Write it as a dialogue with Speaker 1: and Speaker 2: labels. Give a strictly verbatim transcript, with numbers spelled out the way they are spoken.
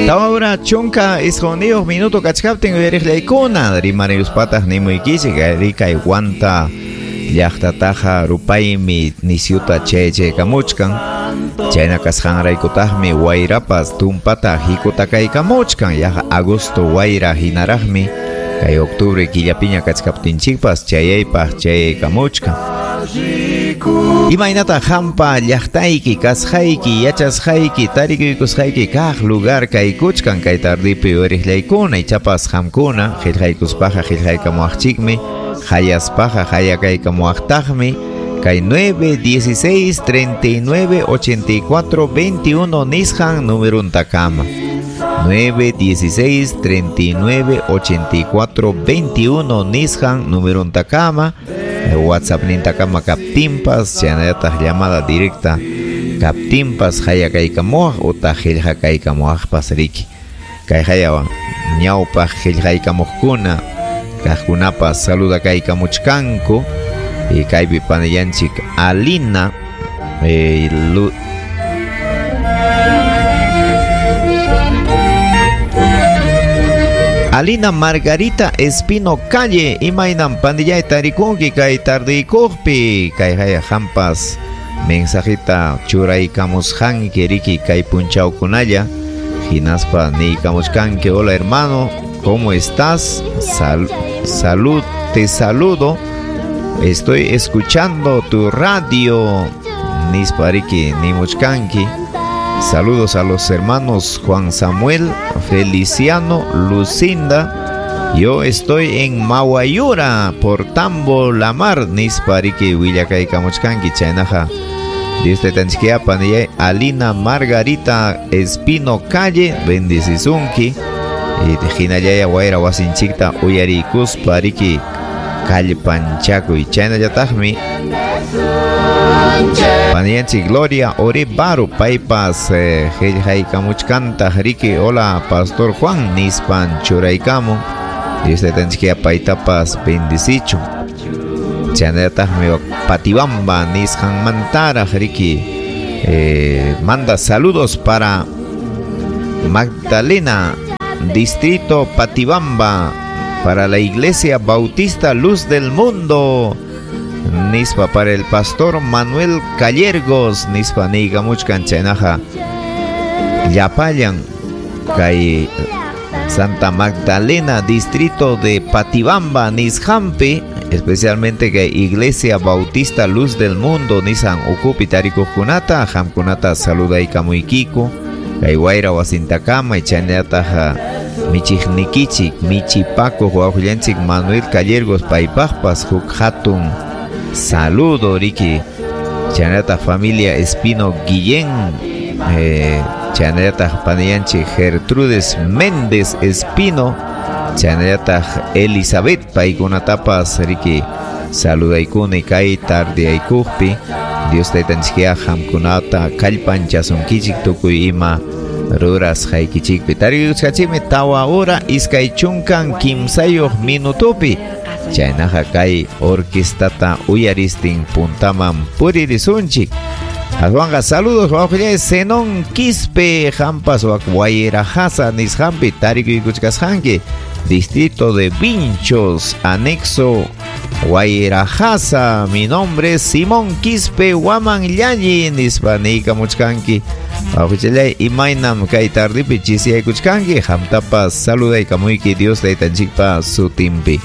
Speaker 1: Tawa hora chunka isquniyuq minuto kachkaptin uyariqllaykuna rimariyuspataq nimuykichik kay Huanta llaqtataqa rupaymi nisyuta chaychaykamuchkan chayna kasqanraykutaqmi wayrapas tumpata hikutakaykamuchkan yaqa agosto wayra hinaraqmi kay octubre killapiña kachkaptinchikpas chayaypaq chayaykamuchkan. Imaynata hampa llaqtayki kasqayki yachasqayki tarikuykusqayki kaq lugar kaykuchkan kay tardipi uyariqllaykuna ichapas qamkuna qillqaykuspaqa qillqaykamuwaqchikmi hayaspaqa hayakaykamuwaqtaqmi kay nueve dieciséis treinta y nueve ochenta y cuatro veintiuno nisqan numeruntakama nueve dieciséis treinta y nueve ochenta y cuatro veintiuno nisqan numeruntakama WhatsApp nintakama kaptinpas chaynallataq llamada directa kaptinpas hayakaykamuwaq utaq qillqakaykamuwaqpas riki kay hayawan ñawpaq qillqaykamuqkuna kaqkunapas saludakaykamuchkanku y kaypi panillanchik Alina eh, Lu Alina Margarita Espino Calle imaynam pandillay tarikunki kay tardiykuqpi kay haya hampas mensajita churaykamusqanki riki kay punchawkunalla hinaspa niykamuchkanki hola hermano, ¿cómo estás? Sal salud, te saludo, estoy escuchando tu radio nispa riki nimuchkanki. Saludos a los hermanos Juan Samuel, Feliciano, Lucinda. Yo estoy en Mahuayura por Tambo Lamar nispa riki willakaykamuchkanki chaynaqa Dios te tanchkia panillay Alina Margarita Espino Calle bendecisunki y hinallaya wayra wasinchikta uyarikuspa riki kallpanchakuy chaynallataqmi Panianchi Gloria Orebaru paypas eh, qillqaykamuchkantaq riki hola Pastor Juan nispan churaykamun Dios te tanchkia paytapas bendecichun chaynallataqmi Patibamba nisqanmantaraq riki eh, manda saludos para Magdalena Distrito Patibamba para la Iglesia Bautista Luz del Mundo nispa para el pastor Manuel Callergos nispa niykamuchkan chaynaqa llapallan kay Santa Magdalena Distrito de Patibamba nisqanpi especialmente kay Iglesia Bautista Luz del Mundo nisan ukupi tarikuqkunata qamkunata saludaykamuykiku kay wayra wasintakama chaynallataq michiqnikichik michipakuq wawqillanchik Manuel Callergos paypaqpas huk hatun saludo riki chaynallataq familia Espino Guillén eh, chaynallataq panillanchik Gertrudes Méndez Espino chaynallataq Elizabeth paykunatapas riki saludaykuni kay tardeaykuqpi Dios taytanchikya qamkunata kallpanchasunkichik tukuy ima rurasqaykichikpi tariyuchkachikmi tawa hora iskay chunkan kimsayuq minutupi chaynaqa kay orquestata uyaristin puntaman puririsunchik. Aswanqa saludos wawqillay Zenón Quispe hampas wak Wayrajasa nisqanpi tarikuykuchkasqanki Distrito de Vinchos, anexo Wayrajasa. Mi nombre es Simón Quispe Huaman Llalli nispa niykamuchkanki wawqillay imaynam kay tardipi chisiyaykuchkanki hamtapas saludaykamuyki Dios taytanchikpa sutinpi.